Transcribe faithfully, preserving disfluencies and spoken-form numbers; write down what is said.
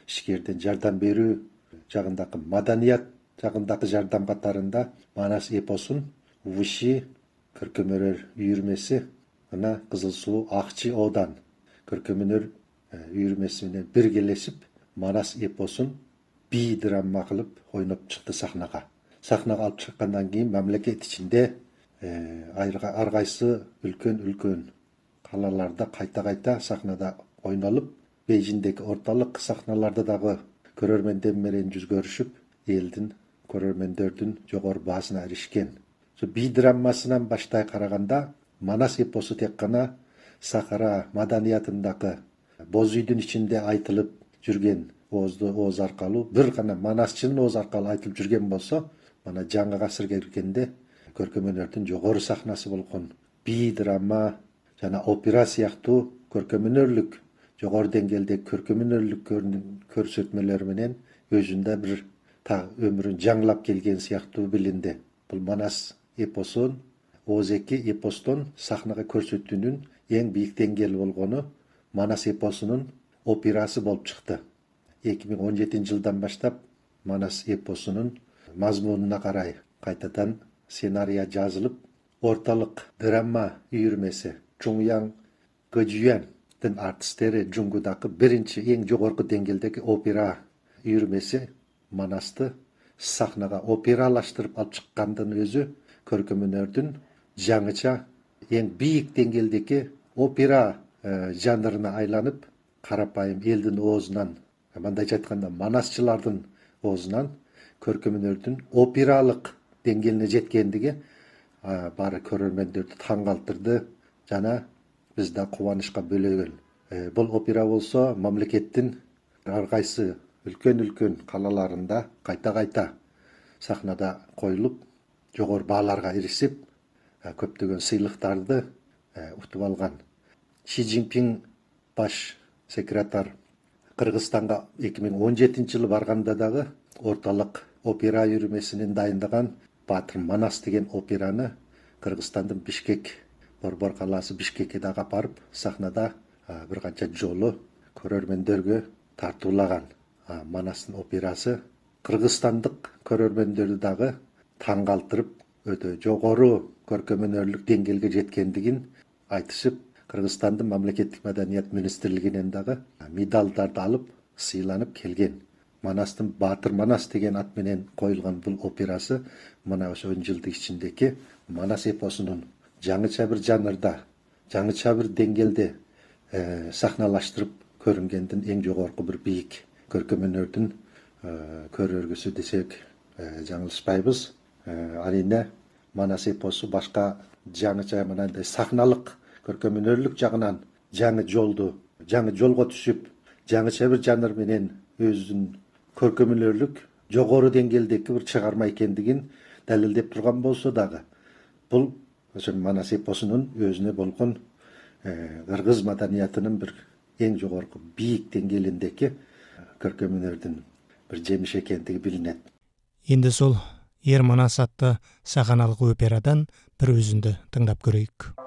ишкерден жардам берүү жагындагы маданият жагындагы жардам катарында Манас эпосун Выши көркөм өнөр үйүрмеси жана Кызыл Суу Акчы Одан көркөм өнөр үйүрмеси менен биргелешип Манас эпосун би драма кылып ойноп чыкты сахнага. Сахнага алып чыккандан кийин мамлекет ичинде ар кайсы үлкөн үлкөн калаларда кайта-кайта сахнада ойнолуп, Бейжиңдеги орталык сахналарда дагы көрөрмөндөр менен жүз көрүшүп, элдин көрөрмөндөрдүн жогору баасына эришкен. Би драмасынан баштай караганда Манас эпосу тек гана Сахара маданиятындагы боз үйдүн ичинде айтылып жүргөн оозду ооз аркылуу бир гана манасчынын ооз аркылуу айтылып жүргөн болсо, мына жаңы гасырга киргенде көркөм өнөрдүн жогору сахнасы болгон би драма жана опера сыяктуу көркөм өнөрлүк жогору деңгээлдеги көркөм өнөрлүк көрсөтмөлөр менен өзүндө бир та өмүрүн жаңылап келген сыяктуу билинди. Бул Манас эпосун ооз эки эпостон сахнага көрсөтүүнүн эң бийик деңгээли болгону Манас эпосунун операсы болуп чыкты. эки миң он жетинчи жылдан баштап Манас эпосунун мазмунуна карай кайтадан сценария жазылып, орталык драма үйүрмеси Чуңяң Гэжюяндын артисттери Жунгудагы биринчи эң жогорку деңгээлдеги опера үйүрмеси Манасты сахнага опералаштырып алып чыккандын өзү көркөм өнөрдүн жаңыча эң бийик деңгээлдеги опера жанрына айланып, карапайым элдин оозунан, мындайча айтканда манасчылардын оозунан көркөм өнөрдүн опералык деңгээлине жеткендиги баары көрөрмөндөрдү таң калтырды жана биз да кубанычка бөлөгөн. Бул опера болсо мамлекеттин ар кайсы үлкөн-үлкөн калаларында кайта-кайта сахнада коюлуп, жогору бааларга эришип, көптөгөн сыйлыктарды утуп алган. Ши Цзиньпин баш секретарь Кыргызстанга эки миң он жетинчи жылы барганда дагы орталык опера үйүрмесинин дайындаган Батыр Манас деген операны Кыргызстандын Бишкек, Борбор калаасы Бишкекке дагы апарып, сахнада бир канча жолу көрөрмөндөргө тартуулаган. Манастын операсы кыргызстандык көрөрмөндөрдү дагы таң калтырып, өтө жогору көркөм өнөрлүк деңгээлге жеткендигин айтышып, Кыргызстандын мамлекеттик маданият министрлигинен дагы медалдарды алып, сыйланып келген. Манастын Батыр Манас деген ат менен коюлган бул операсы мына ошо он жылдык ичиндеги Манас эпосунун жаңыча бир жанрда, жаңыча бир деңгээлде сахналаштырып көрүнгөндүн эң жогорку бир бийик көркөм өнөрдүн көрөргүсү десек жаңылышпайбыз. Арийне Манас эпосу башка жаңыча мындай сахналык көркөм өнөрлүк жагынан жаңы жолду, жаңы жолго түшүп, жаңыча бир жанр менен өзүнүн көркөм өнөрлүк жогору деңгээлдеги бир чыгарма экендигин далилдеп турган болсо дагы, бул ошо Манас эпосунун өзүнө болгон кыргыз маданиятынын бир эң жогорку бийик деңгээлиндеги көркөм өнөрдүн бир жемиши экендиги билинет. Энди сол Ер Манас атты саханалык операдан бир өзүндү тыңдап көрөйүк.